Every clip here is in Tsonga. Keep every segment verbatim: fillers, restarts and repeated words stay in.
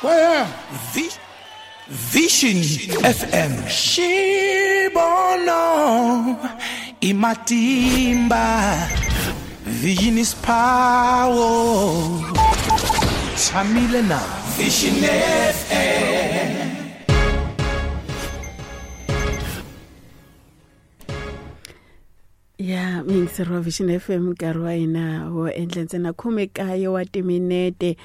Where? Vision F M. Xibono imatimba. Vision is power. Tshamile na Vision F M. Ya miyingiseri wa Vision F M nkarhi wa hina wo endla ntsena khume kaye wa timinete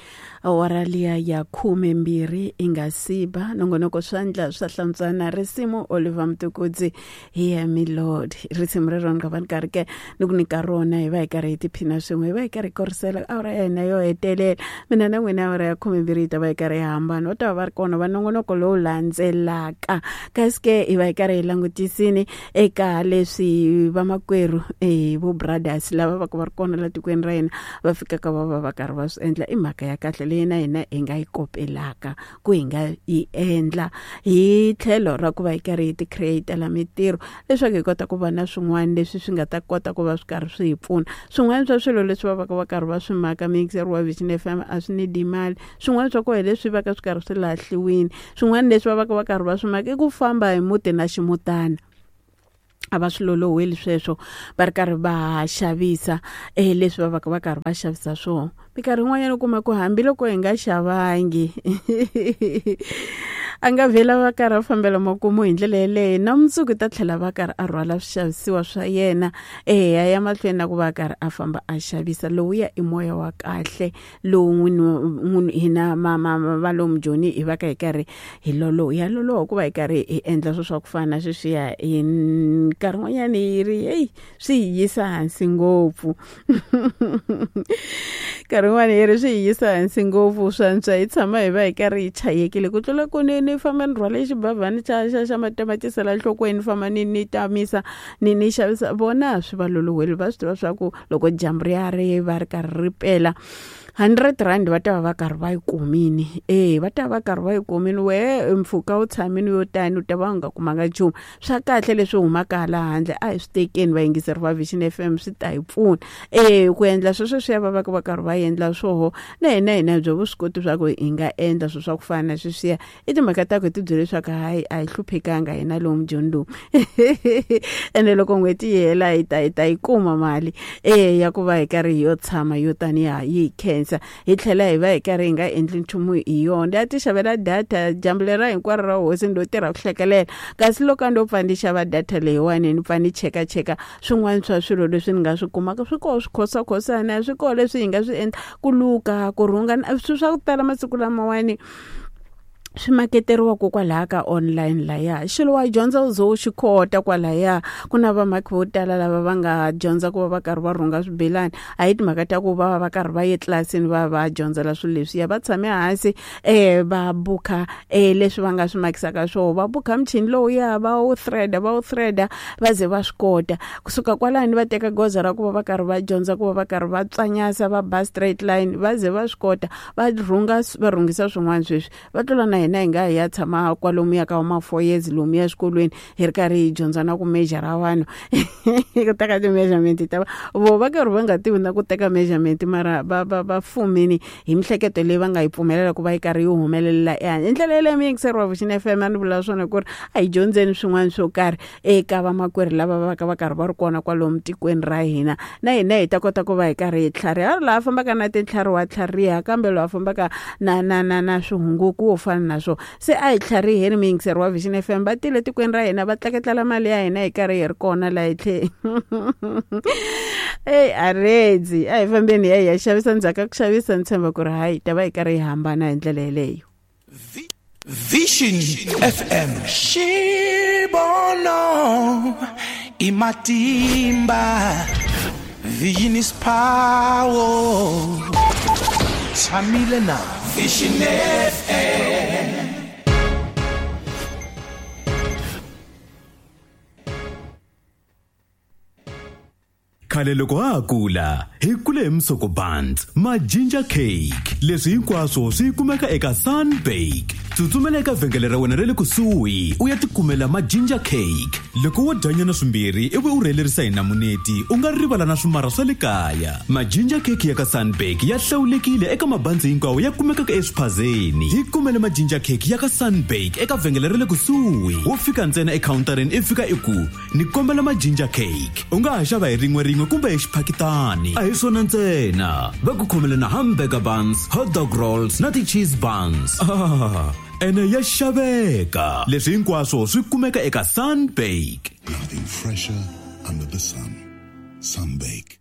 awara liya ya khume mbirhi i nga siba nongonoko swandla swa hlantswana risimu Oliver Mtukudzi hi me Lord risimu rero ni nga va ni karhi ke ni ku nyika rona hi va hi karhi hi tiphina swin'we hi va hi karhi hi korisela awara ya hina yo hetelela mina na n'wina awara ya khume mbirhi yi ta va hi karhi hi hambana va ta va va ri kona va nongonoko lowu landzelaka kasi ke hi va hi karhi hi langutisini eka leswi vamakwerhu eh vo brothers lava va ku va ri kona la tikweni ra hina va fikaka va va va karhi va swi endla i mhaka ya kahle leyi na hina hi nga yi kopelaka ku hi nga yi endla hi tlhelo ra ku va hi karhi hi ti createla mitirho leswaku hi kota ku va na swin'wana leswi swi nga ta kota ku va swi karhi swi hi pfuna swin'wana swa swilo leswi va vaka va karhi va swi maka miyingiseri wa Vision F M a swi nidi mali swin'wana swa koho leswi vaka swi karhi swi lahliwini swin'wana leswi va vaka va karhi va swi maka i ku famba hi muti na ximutana a va swi loloheli sweswo va ri karhi va xavisa eh leswi va vaka va karhi va xavisa swona minkarhi yin'wanyana u kuma ku hambiloko hi nga xavangi a nga vhela va karhi a fambela makumu hi ndlela yeleyo na mundzuku ta tlhela va karhi a rhwala swixavisiwa swa yena eya ya mahlweni na ku va karhi a famba a xavisa lowuya i moya wa kahle lowu n'wini hina va lomu Joni hi va ka hi karhi hi loloha ya loloha ku va hi karhi hi endla swilo swa ku fana na sweswiya hi nkarhi wun'wanyana yi ri heyi swi hi yisa hansi ngopfu nkarhi wun'wana yi ri swi hi yisa hansi ngopfu swantswa hi tshama hi va hi karhi hi chayekile ku tlula ku ni ni famba ni rhwale xibavhani xa xa xa matamatisi la nhlokweni ni famba ni ni tamisa ni ni xavisa vona swi va loloheli va swi tiva swa ku loko dyambu ri ya ri va ri karhi ri pela hundred rand va ta va va karhi va yi kumini eh va ta va karhi va yi kumini we mpfhuka wu tshamini yo tani u ta va u nga kumanga nchumu swa kahle leswi humaka hala handle a hi swi tekeni vayingiseri va Vision F M swi ta hi pfuna eh ku endla sweswo swi ya va va va karhi va endla swoho na hina hina byo vuswikoti swa ku hi nga endla swilo swa ku fana na sweswiya i timhaka ta ku hi ti byele leswaku hayi a hi hluphekanga hina lomu Joni lomu ene loko n'hweti yi hela hi ta hi ta yi kuma mali eh ya ku va hi karhi hi yo tshama yo taniya yi hi khensa hi tlhela hi va hi karhi hi nga endli nchumu hi yona ya ti xavela data dyambu lera hinkwaro ra hosi ndo tirha ku hlekelela kasi loko a ndo pfa ni xava data leyiwani ni pfa ni chekacheka swin'wana swa swilo leswi ni nga swi kumaka swi koho swikhosakhosana swi koho leswi hi nga swi endla ku luka ku rhunga swilo swa ku tala masiku lamawani swi maketeriwa kwalaha ka online laya xilo wa dyondza u ze u xi kota kwalaya ku na vamaki vo tala lava va nga dyondza ku va va karhi va rhunga swibelani a hi timhaka ta ku va va va karhi va ye tlilasini va va dyondzela swilo leswiya va tshame hansi um va bukha um leswi va nga swi makisaka swona va bukha muchini lowuya va wu threada va wu threada va ze va swi kota kusuka kwalani va teka goza ra ku va va karhi va dyondza ku va va karhi va tswanyasa va ba straight line va ze va swi kota va rhunga va rhungisa swin'wana sweswi va tlula na hina hi nga hi ya tshama kwalomuya ka ma four years lomuya exikolweni hi ri karhi hi dyondza na ku measure vanhu ku teka ti-measurement ta vo va karhi va nga tivi na ku teka measurement mara va va va fumini hi mihleketo leyi va nga yi pfumelela ku va yi karhi yi humelela ehansi hi ndlela yeleyo miyingiseri wa Vision F M a ni vula swona ku ri a hi dyondzeni swin'wana swo karhi eka vamakwerhu lava va ka va karhi va ri kona kwalomu tikweni ra hina na hina hi ta kota ku va hi karhi hi tlhariha ri laha fambaka na tintlhari wa tlhariha kambe loyi a fambaka na na na na swihunguku wo fana na swo se a hi tlhariheni miyingiseri wa Vision F M va tile tikweni ra hina va tleketlela mali ya hina hi karhi hi ri kona laha hi tlhe eyi a redzi a hi fambeni hi ya hi ya xavisa ndzhaku ka ku xavisa ni tshemba ku ri hayi ta va hi karhi hi hambana hi ndlela yeleyo. Vision F M Xibono imatimba Vision is power Tshamile na Vision F M. Khale loko ha ha kula hi kule hi musoko buns ma ginger cake leswi hinkwaswo swi kumeka eka Sunbake. Tsutsumela eka vhengele ra wena ra le kusuhi u ya tikumela ma-ginger cake. Loko wo dyanyana swimbirhi ivi u rhelerisa hi namuneti u nga rivala na swimara swa le kaya. Ma-ginger cake ya ka Sunbake ya hlawulekile eka mabandzi hinkwawo ya kumekaka eswiphazeni. Hi kumele ma-ginger cake ya ka Sunbake eka vhengele ra le kusuhi. Wo fika ntsena ekhawuntareni i fika i ku ni kombela ma-ginger cake. U nga ha xava hi rin'we rin'we kumbe hi xiphakitani. A hi swona ntsena, va ku khomele na hamburger buns, hot dog rolls na ti-cheese buns. Ah, ene ya xaveka. Leswi hinkwaswo swi kumeka eka Sunbake. Nothing fresher under the sun. Sunbake.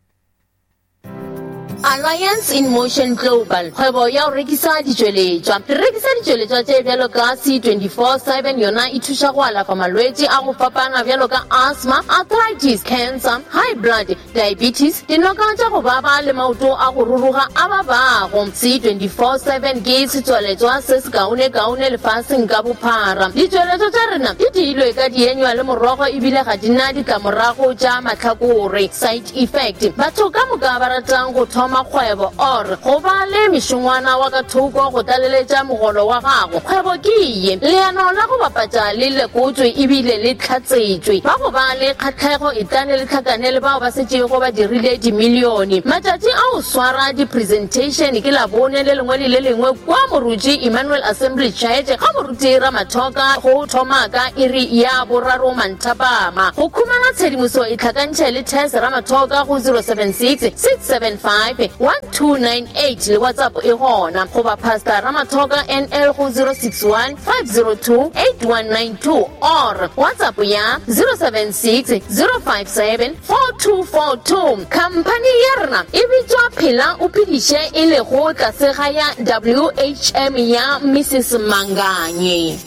Alliance in Motion Global, kgwebo ya go rekisa ditšweletšwa. Re rekisa ditšweletšwa tše bjalo ka C twenty-four seven, yona e thuša go alafa malwetši a go fapana bjalo ka asthma, arthritis, cancer, high blood, diabetes, dinoka tša go baba le maoto a go ruruga a babago. C twenty-four seven ke setswaletšwa se se kaone-kaone lefaseng ka bophara. Ditšweletšwa tša rena di diilwe ka dienywa le morogo ebile ga di na ditlamorago tša mahlakore, side effect. Batho ka moka ba ratang go thoma kgwebo or go ba le mešongwana wa ka thoko go tlaleletša mogolo wa gago, kgwebo ke ye. Leano la go bapatša le lekotswe ebile le tlhatsetšwe. Ba go ba le kgatlhego e tlane le tlhakane le bao ba setšego ba dirile dimilione. Matšatši a go swara di-presentation ke Labone le lengwe le le lengwe kwa Moruti Emmanuel Assembly Church ga Moruti Ramathoka go thoma ka iri ya boraro manthapama. Go khumana tshedimoso e tlhakantšhe le Tess Ramathoka go zero seven six six seven five one two nine eight le WhatsApp e gona, goba Pastor Ramathoka N L go zero six one five zero two eight one nine two or WhatsApp ya zero seven six zero five seven four two four two. Company ya rena e bitswa Phela o Phediše e lego tlase ga ya W H M ya Missus Manganye.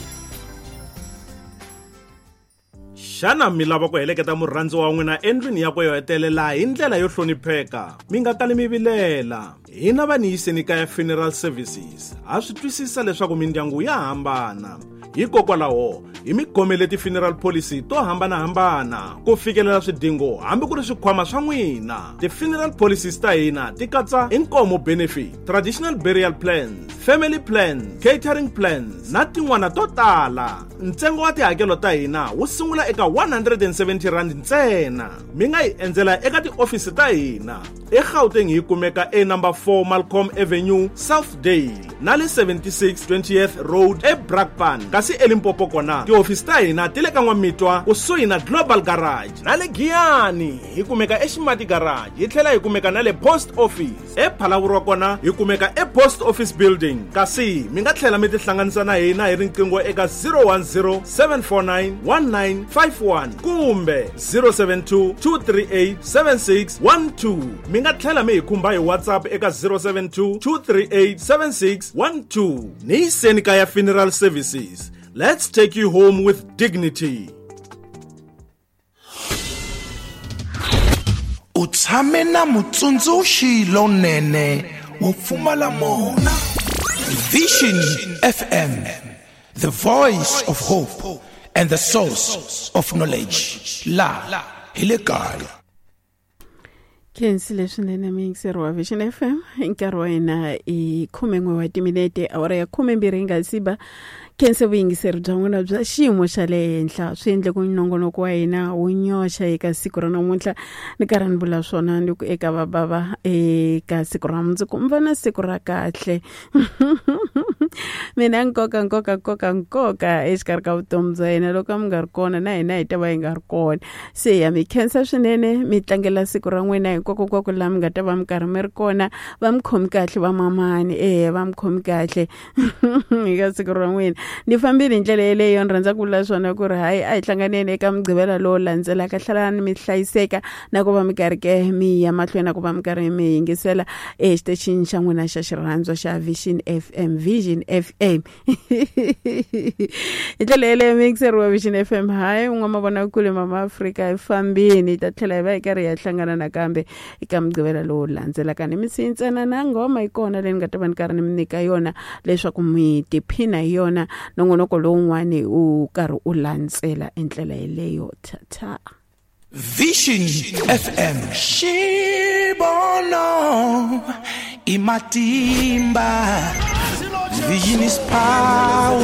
Xana mi lava ku heleketa murhandzi wa n'wina endlwini yakwe yo hetelela hi ndlela yo hlonipheka? Mi nga tali mi vilela. Hina va ni yiseni kaya Funeral Services ha swi twisisa leswaku mindyangu ya hambana. Hikokwalaho hi mi khomele ti-funeral policy to hambanahambana ku fikelela swidingo hambi ku ri swikhwama swa n'wina. Ti-funeral policies ta hina ti katsa inkomo benefit, traditional burial plans, family plans, catering plans na tin'wana to tala. Ntsengo wa tihakelo ta hina wu sungula eka one hundred and seventy rand ntsena. Mi nga hi endzela eka tiofisi ta hina eGauteng hi kumeka e number four Malcolm Avenue, Southdale na le seventy-six twentieth Road eBrakpan. Kasi eLimpopo kona tiofisi ta hina ti le ka N'wamitwa kusuhi na Global Garage na le Giyani hi kumeka eXimati Garage, hi tlhela hi kumeka na le Post Office. ePhalaborwa kona hi kumeka ePost Office Building. Kasi mi nga tlhela mi tihlanganisa na hina hi riqingho eka zero one zero seven four nine one nine five one kumbe zero seven two two three eight seven six one two. Mi nga tlhela mi hi khumba hi WhatsApp eka zero seven two two three eight seven six one two. Ni yiseni kaya Funeral Services. Let's take you home with dignity. U tshame na mutsundzuxi lonene wo pfumala mona. Vision F M, the voice of hope and the source of knowledge. La hi le kaya. Khensile swinene muyingiseri wa Vision F M. Nkarhi wa hina i khumen'we wa timinete, awara ya khumembirhi yi nga si ba. Khense vuyingiseri bya n'wina bya xiyimo xa le henhla swi endle ku nongonoko wa hina wu nyoxa eka siku ra namuntlha. Ni karhi ni vula swona ni ku eka vabava eka siku ra mundzuku mi va na siku ra kahle. Mina nkoka nkoka nkoka nkoka exikarhi ka vutomi bya hina loko mi nga ri kona na hina hi ta va hi nga ri kona. Se ya mi khensa swinene, mi tlangela siku ra n'wina hinkwako kwako laha mi nga ta va mi karhi mi ri kona. Va mi khomi kahle va mamani, eya va mi khomi kahle eka siku ra n'wina. Ni fambile hi ndlela yeleyo, ni rhandza ku vula swona ku ri hayi a hi hlanganeni eka Mugqivela lowu landzelaka. Hlalani mi hlayiseka na ku va mi karhi ke mi ya mahlweni na ku va mi karhi mi yingisela exitichini xa n'wina xa xirhandzo xa Vision F M, Vision F M. Hi ndlela yeleyo muyingiseri wa Vision F M, hayi n'wamavonakule Mama Afrika hi fambini, hi ta tlhela hi va hi karhi hi ya hlangana nakambe eka Mugqivela lowu landzelaka. Ni mi siyi ntsena na nghoma yi kona leyi ni nga ta va ni karhi ni mi nyika yona leswaku mi tiphina hi yona. Nongonoko lowun'wani u karhi u landzela endlela yeleyo. Tata Vision F M Xibono i matimba. Vision is power.